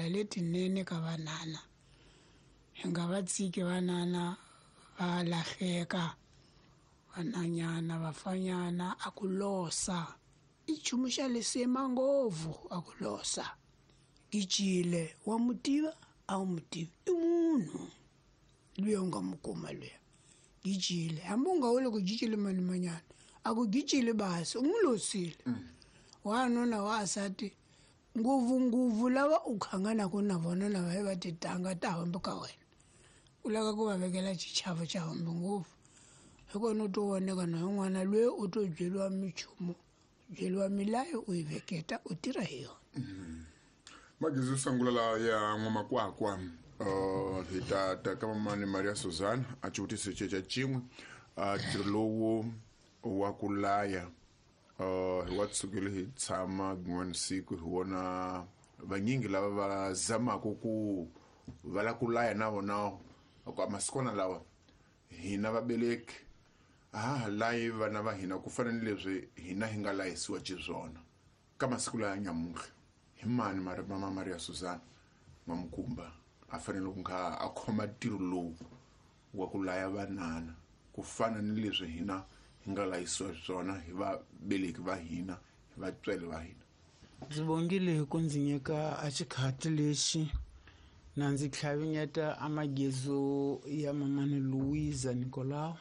Letinene ka vanana hi nga va tshiki vanana va lahleka vananyana vafanyana a ku losa i nchumu xa lisima ngopfu a ku losa gijile wa mu tiva a wu mu tivi i munhu luya u nga mu kuma luya gijile hambi u nga wuli ku gijile mani manyana a ku gijile basi u n'wi losile wanuna wa asati ngopfungopfu lava u khanganaka na vona lava hi va titanga ta hambi ka wena u lava ku va vekela xichavo xa hambi ngopfu hi kona u to voneka na yin'wana loyi u to byeriwa minchumu byeriwa milayo u yi veketa u tirha hi yona. Magezi yo sungula la ya n'wamakwakwa hi ta ta ka mamani Maria Suzana a xivutiso xa cin'we ntirho lowu wa ku laya hi wa tsukile hi tshama rin'wana siku hi vona vanyingi lava va zamaka ku va la ku laya na vona ku masikwana lawa hina vabeleki a ha ha layi vana va hina ku fana ni leswi hina hi nga layisiwa xiswona ka masiku laya nyamuhla hi mani mama Maria Suzana N'wamukumba a fanele ku nga a khoma ntirho lowu wa ku laya vanana ku fana ni leswi hina hi nga layisiwa swona hi vabeleki va hina hi vatswari va hina. Ndzi bongile hi ku ndzi nyika a xikhati lexi na ndzi tlhavinyeta a magezo ya mamani Louisa Nicolau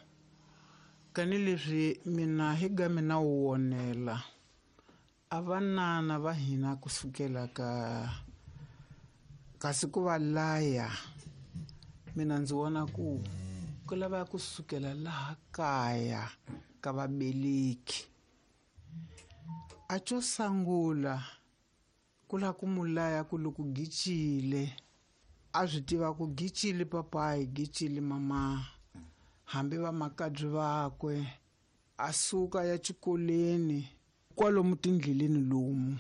kani leswi mina hi ga mina wu wonela a vanana va hina kusukela ka kasi ku va laya mina ndzi vona ku ku lava kusukela laha kaya ka vabeleki a xo sungula ku la ku mu laya ku loko gicile a swi tiva ku gicile papayi gicile mama hambi va makabyi vakwe a suka ya xikolweni kwalomu tindleleni lomu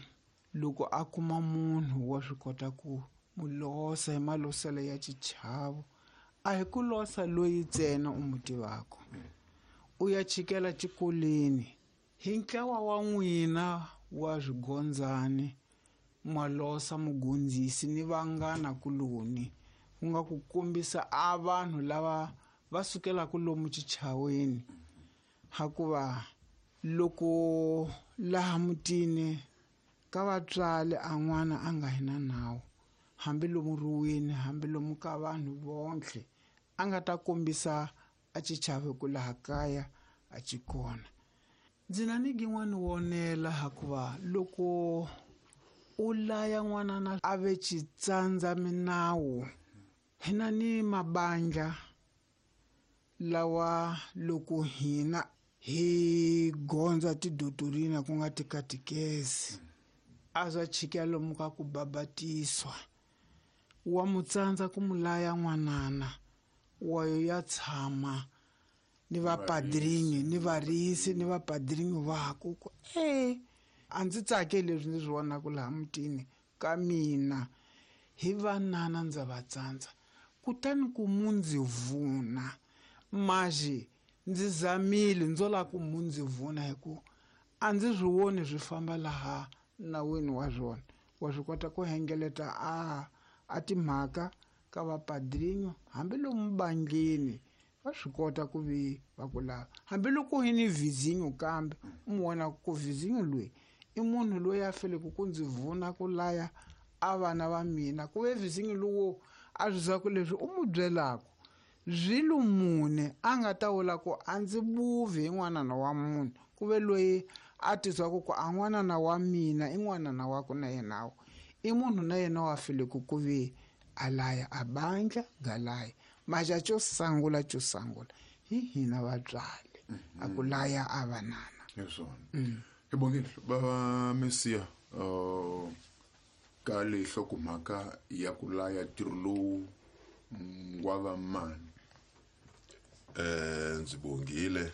loko a kuma munhu wa swi kota ku mu losa hi maloselo ya xichavo a hi ku losa loyi ntsena u mu tivaka u ya chikela xikolweni hi ntlawa wa n'wina wa swigondzani malosa mugondzisi ni vanghana kuloni ku nga ku kombisa a vanhu lava va sukelaka lomu xichaweni hakuva loko laha mutini ka vatswari a n'wana a nga hi na nawu hambi lomu ruweni hambi lomu ka vanhu vonke a nga ta kombisa a xichavo ku laha kaya a xi kona. Ndzi na ni gin'wani wonela hakuva loko u laya n'wanana a ve xitsandza minawu hina ni mabandla lawa loko hina hi gondza tidotorina ku nga tikatikezi a swa chika lomu ka ku babatiswa wa mu tsandza ku mu laya n'wanana wa yo ya tshama ni vapadrinyi ni varisi ni vapadrinyi vaku ku a ndzi tsake leswi ndzi swi vonaka laha mutini ka mina hi vanana ndza va tsandza kutani ku mu ndzi vuna maxi ndzi zamile ndzo lava ku mu ndzi vuna hi ku a ndzi swi voni swi famba laha nawini wa swona wa swi kota ku hengeleta a timhaka ka vapadrinyo hambi lomu bandleni va swi kota ku vi va ku lava hambi loko hi ni vizinyo kambe u mu vona ku vizinyo loyi i munhu loyi a feleke ku ndzi vuna ku laya a vana va mina ku ve vizinyo lowo a swi za ku leswi u mu byelaka swilo mune a nga ta vula ku a ndzi buvi hi n'wanana wa munhu ku ve loyi a tizwaku ku a n'wanana wa mina i n'wanana wa ku na yenawo i munhu na yena wa feleke ku ve a laya a bandla galaya maxa xo sungula hi hina vatswari a ku laya a vanana hi swona hi bongile bava Mesiya ka leyi hlokomhaka ya ku laya ntirho lowu wa va mani. Ndzi bongile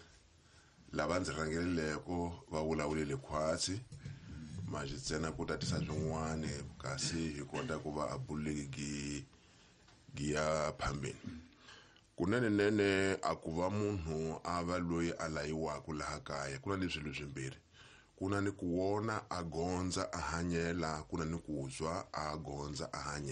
lava ndzi rhangeleleko va vulavulile khwatsi manje ntsena ku tatisa swin'wana kasi hi kota ku va a buleki gi ya phambeni kunene nene a ku va munhu a va loyi a layiwaka laha kaya ku na ni swilo swimbirhi ku na ni ku wona a gondza a hanyela ku na ni ku zwa a gondza a hanyela.